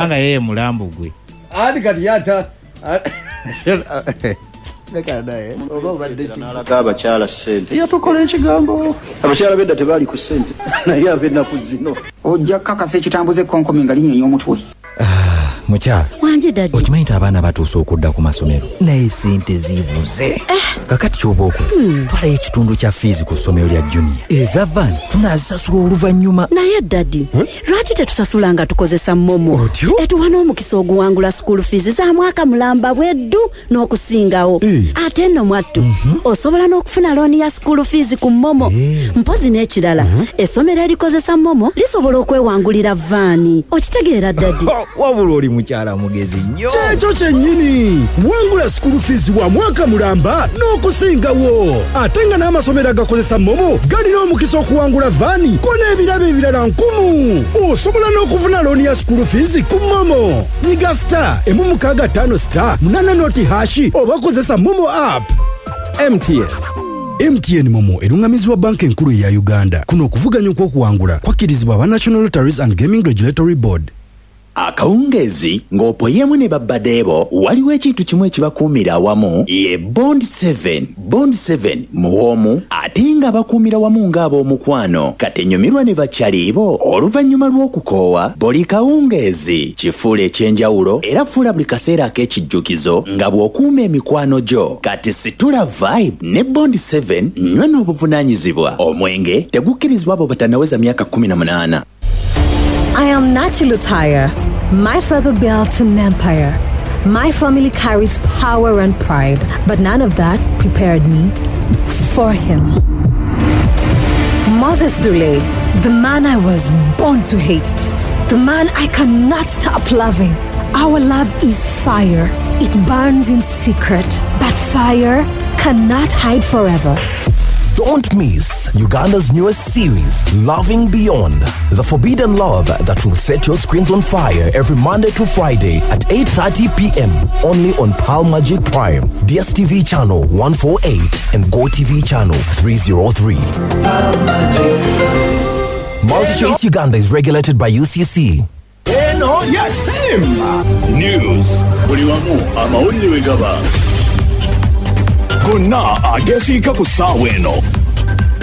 Kubanga yeye mulambo gwe. Ati kati yata leka naye oba obadde ki? N'alaga abakyala ssente, yatukola ekigambo. Abakyala bedda tebaali ku ssente, naye ab'ennaku zino. Ojja kukakasa ekitambuza ekkonkomi nga linyonya omutwe. Mukyala. Wangi daddy. Okimanyi nti abaana batuuse okudda ku masomero, naye sente zibuze. Kakati kyoba okola, twalayo ekitundu kya fiizi ku ssomero lya Junior, eza van tunaazisasula oluvannyuma. Naye daddy, lwaki tetusasula nga tukozesa MoMo? Otyo? Etuwa n'omukisa oguwangula school fees za mwaka mulamba bweddu n'okusingawo. Ate nno mwattu, osobola n'okufuna looni ya school fees ku MoMo. Mpozi n'ekirala, essomero erikozesa MoMo lisobola okwewangulira vaani. Okitegeera daddy? Wabula oli mukyala mugezi nnyo. Kyekyo kyennyini, wangula school fees wa mwaka mulamba n'okusingawo, ate nga n'amasomero agakozesa MoMo galina omukisa okuwangula vaani ko n'ebirabo ebirala nkumu. Osobola n'okufuna looni ya school fees ku MoMo. Nyiga *165*80# oba kozesa MoMo app. MTN. MTN MoMo erungamizibwa Banka Enkulu eya Uganda. Kuno okuvuganya okw'okuwangula kwakkirizibwa aba National Lotteries and Gaming Regulatory Board. Akawungeezi ng'opoyemu ne babbadeebo, waliwo ekintu kimu ekibakuumira awamu, ye Bond 7. Bond 7 muwoomu ate nga bakuumira wamu ng'ab'omukwano. Katenyumirwa ne bakyaliibo oluvannyuma lw'okukoowa buli kawungeezi. Kifuula ekyenjawulo era fuula buli kaseera ak'ekijjukizo nga bw'okuuma emikwano gyo. Kati situla vibe ne Bond 7, nywa n'obuvunaanyizibwa. Omwenge tegukkirizibwa abo batannaweza myaka 18. I am Nachilutaya. My father built an empire. My family carries power and pride, but none of that prepared me for him. Moses Dule, the man I was born to hate, the man I cannot stop loving. Our love is fire. It burns in secret, but fire cannot hide forever. Don't miss Uganda's newest series, Loving Beyond, the forbidden love that will set your screens on fire every Monday to Friday at 8:30 p.m. only on Pearl Magic Prime, DSTV channel 148 and GoTV channel 303. MultiChoice Uganda is regulated by UCC. Eno ya Simba News, buli wamu amawulire we gaba gonna agesiika ku ssaawa eno.